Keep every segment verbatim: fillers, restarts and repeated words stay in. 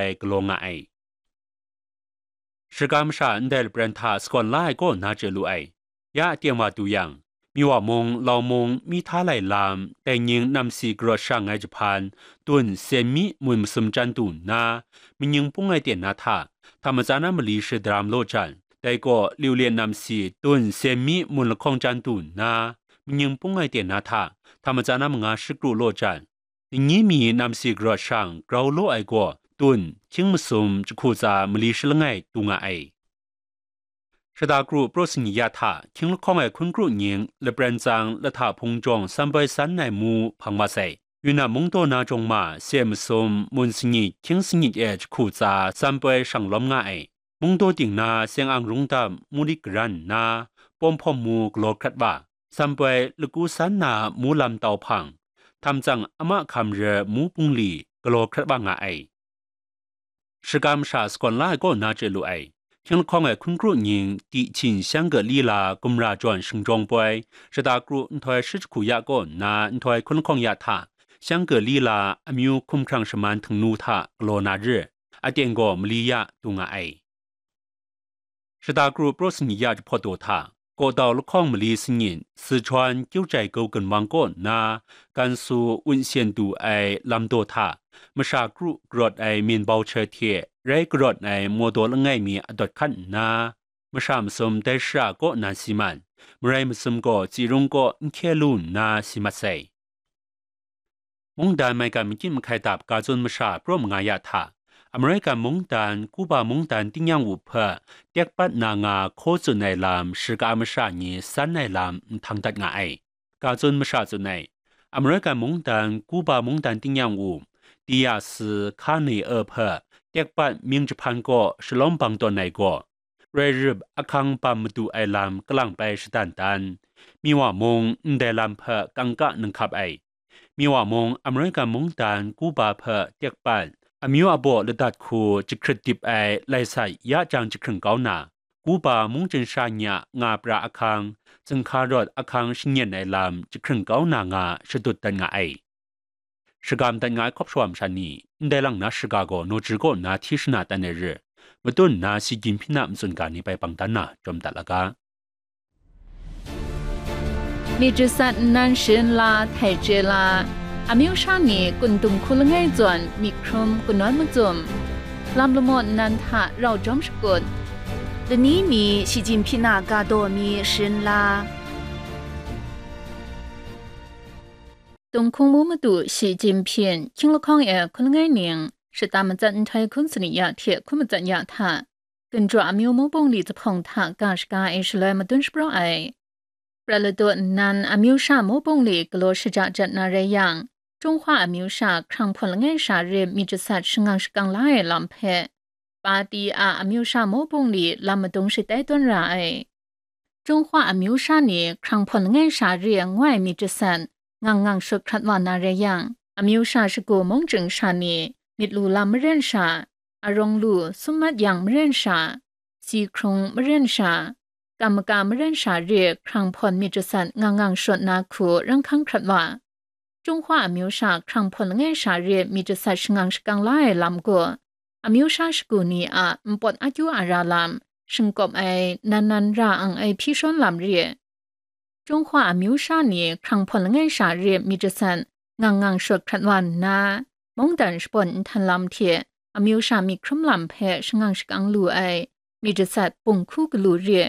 ai galaw nga ai. Shaka masha ndai lapran hta sagawn la ai kaw na chye lu ai. Ya aten wa du yang, Miwa mung, Lau mung, mi hta lai lam, dai nying namsi karawt shang ai jahpan, tun sen mi mun masum chyan du nna, manying pung ai ten na hta, hta matsan a mali shadaram law jan, dai kaw liu lyen namsi tun sen mi mun lahkawng chyan du nna, manying pung ai ten na hta, hta matsan a manga shakru law jan, ningyi mi namsi karawt shang grau law ai gaw tun hkying masum jahku tsa mali shalangai du nga ai. Shada kru praw sangi ya hta hkying lahkawng ai hkun kru nying lapran tsang lahta hpung jawng sanpoi san ai mu hpang wa sai. Yunnan mungdaw na jawng ma se masum mun sangi hkying sanit e jahku tsa sanpoi shang lawm nga ai. Mungdaw ting na seng ang rungdam murik karan nna, pawm hpawm mu galaw hkrat wa, sanpoi laku san na mu lam tau hpang, htam tsang ama hkam re mu pungli galaw hkrat wa nga ai. Shaka masha sagawn la ai kaw na chye lu ai. Hkying lahkawng ai hkun kru nying, Dihchin Shangkali la gumra jawn shingjawng poi, shata kru nhtoi shi jahku ya kaw nna nhtoi hkun lahkawng ya hta, Shangkali la amyu hkumhkrang shaman htingnu hta galaw na re, aten gaw mali ya du nga ai. Shata kru praw sangi ya jahpawt daw hta, Kawdau lahkawng mali sanit, Sichuan Kyiu Jai Gau Ginwang kaw nna, Gansu Wunsian du ai lam daw hta, masha kru karawt ai minbau hte, rai karawt ai mawdaw langai mi adawt hkat nna, masha masum dai shara kaw na si man, marai masum gaw Tsirung kaw n hkye lu nna si mat sai. Mungdan maigan makyit mahkai dap ga tsun masha praw manga ya hta, American mungdan, Kuba mungdan tingnyang wu hpe tekpat na nga hkaw tsun ai lam, shaka masha ni san ai lam nhtang dat nga ai. Ga tsun masha tsun ai, American mungdan, Kuba mungdan tingnyang wu, Diaz Canel hpe tekpat mying jahpan kaw shalawm bang tawn ai gaw, roi rup ahkang bam madu ai lam kalang pai shadan dan, Miwa mung ndai lam hpe kangka ninghkap ai. Miwa mung American mungdan Kuba hpe tekpat, amyu abaw ladat hku jahkrit dip ai lai sat ya jang jahkring kau na, Kuba mungchying sha ni a nga pra ahkang, zinghka rawt ahkang shanyen ai lam jahkring kau na nga shadut dat nga ai. Shagam dat nga ai hkawp shawa masha ni, ndai lang na shaga gaw naw jir kaw nna hti shana tan ai re, matun nna si gyin hpyi na matsun ga ni bai bang dan na jawm dat laga. Myit jasat nnan sharin la htai chye la, amyu sha ni kun dung hku langai zawn myit hkrum kanawn macum, lam lamaw nnan hta rau jawm shakut, lani mi shi gyin hpyi na ga daw mi sharin la. Tung hkungmu madu Shi Jinping, hkying lahkawng e hkun langai ning, shata matsat nhtoi hkun sanit ya hte hkun matsat ya hta, Ginjaw amyu mung bungli zahpawng hta ga shaga e shaloi madun shapraw ai. Prat ladaw nnan amyu sha mung bungli galaw shaja jat na rai yang, Chunghwa amyu sha hkrang hpawn langai sha re myit jasat shangang shakang la ai lam hpe, Pati a amyu sha mung bungli lam madung shatai tawn ra ai. Chunghwa amyu sha ni hkrang hpawn langai sha re ngoi myit jasat ngang ngang shut hkrat wa na rai yang, amyu sha shagu mungchying sha ni myit lu lam maren sha, arawng lu sum mat yang maren sha, si hkrung maren sha, kam maka maren sha re hkrang hpawn myit jasat ngang ngang shut na hku rang hkang hkrat wa. Chunghwa amyu sha hkrang hpawn langai sha re myit jasat shangang shakang la ai lam gaw, amyu sha shagu ni a npawt akyu ara lam, shingkawp ai nan nan ra ang ai hpyi shawn lam re. Chunghwa amyu sha ni hkrang hpawn langai sha re myit jasat ngang ngang shut hkrat wa nna, mungdan shabawn nhtan lam hte amyu sha myit hkrum lam hpe shangang shakang lu ai myit jasat bung hku galu re.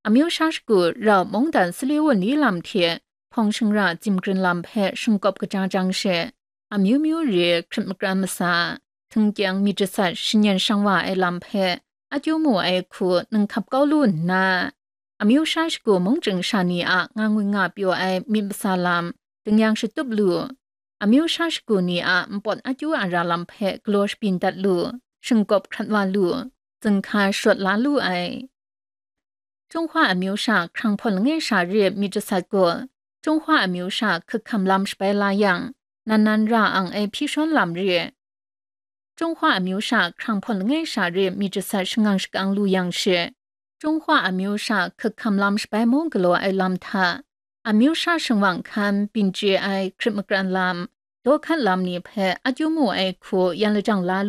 Amyu sha shagu rau mungdan sali wunli lam hte hpawng shingra zimgrin lam hpe shingkawp kaja jang she, amyu myu re hkrit makran masa, htingkyang myit jasat shanyen shang wa ai lam hpe akyu mu ai hku ninghkap kau lu nna, amyu sha shagu mungchying sha ni a nga ngwi nga pyaw ai myit masa lam, dingyang shatup lu, amyu sha shagu ni a npawt akyu ara lam hpe galaw shabyin dat lu, shingkawp hkrat wa lu, zinghka shawt la lu ai. Chunghwa amyu sha hkrang hpawn langai sha re myit jasat gaw, Chunghwa amyu sha hkak hkam lam shabai la yang, nan nan ra ang ai hpyi shawn lam re. Chunghwa amyu sha hkrang hpawn langai sha re myit jasat shangang shakang lu yang she, Chunghwa amyu sha hkak hkam lam shabai mung galaw ai lam hta, amyu sha shingwang hkan byin chye ai hkrit makran lam, daw hkat lam ni hpe akyu mu ai hku yan lajang la